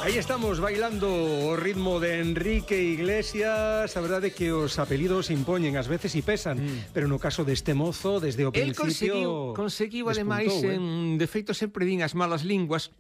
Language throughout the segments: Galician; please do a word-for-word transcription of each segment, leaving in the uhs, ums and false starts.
Aí estamos bailando o ritmo de Enrique Iglesias. A verdade é que os apelidos impoñen ás veces e pesan, mm. pero no caso deste mozo, desde o El principio conseguiu, conseguiu ademais, eh? en, de feito sempre din as malas linguas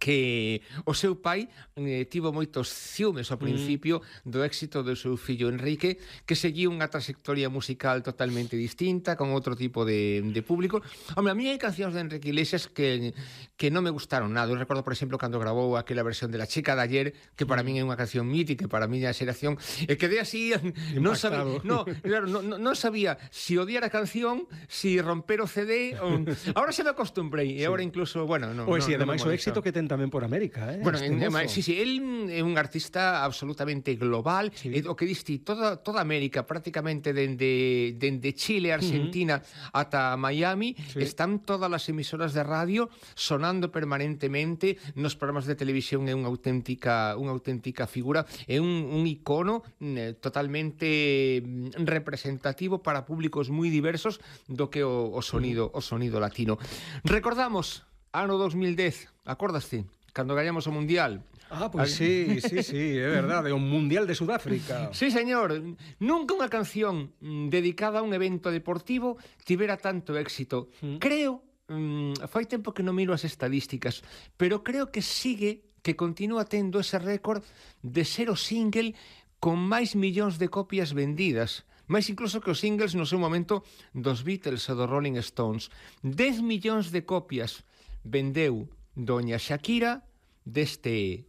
que o seu pai eh, tivo moitos ciúmes ao principio mm. do éxito do seu fillo Enrique, que seguiu unha trayectoria musical totalmente distinta, con outro tipo de, de público. Hombre, a mí hai cancións de Enrique Iglesias que, que non me gustaron nada. Eu recordo, por exemplo, cando grabou aquela versión de La chica de ayer, que para mm. min é unha canción mítica, para a miña xeración, e quedé así, non sabía, no, claro, non no, no sabía si odiar a canción, si romper o C D, o... Ahora se me acostumbrei, e sí. Agora incluso, bueno, no, Pois no, si, no ademais o éxito que ten tamén por América, eh? Bueno, este en, mozo. Sí, sí, él é un artista absolutamente global, sí. O que diste, toda, toda América, prácticamente dende, dende Chile, Argentina, uh-huh. ata Miami, sí. Están todas as emisoras de radio sonando permanentemente, nos programas de televisión é unha auténtica, unha auténtica figura, é un, un icono eh, totalmente representativo para públicos moi diversos do que o, o sonido, uh-huh. o sonido latino. Recordamos ano dos mil dez, acordaste? Cando gañamos o Mundial. Ah, pois pues sí, sí, sí, é verdade, o Mundial de Sudáfrica. Sí, señor. Nunca unha canción dedicada a un evento deportivo tivera tanto éxito. Mm. Creo, mmm, fai tempo que non miro as estadísticas, pero creo que sigue, que continúa tendo ese récord de ser o single con máis millóns de copias vendidas. Mais incluso que os singles no seu momento dos Beatles e dos Rolling Stones. dez millóns de copias vendeu doña Shakira deste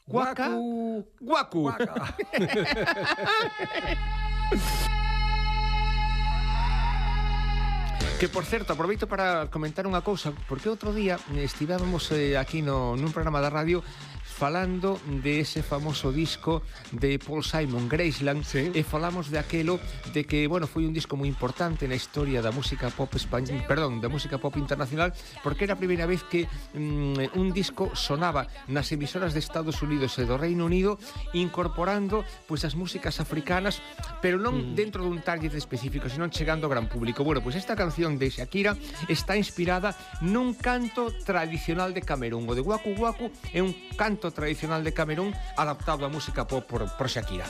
Waka Waku. Que, por certo, aproveito para comentar unha cousa, porque outro día estivemos eh, aquí no, nun programa da radio falando de ese famoso disco de Paul Simon, Graceland, sí. E falamos de aquelo de que, bueno, foi un disco moi importante na historia da música pop española, perdón, da música pop internacional, porque era a primeira vez que mm, un disco sonaba nas emisoras de Estados Unidos e do Reino Unido, incorporando pois as músicas africanas, pero non mm. dentro dun target específico, sino chegando ao gran público. Bueno, pois esta canción de Shakira está inspirada nun canto tradicional de Camerún. O de Waku Waku é un canto tradicional de Camerún adaptado á música pop por, por Shakira.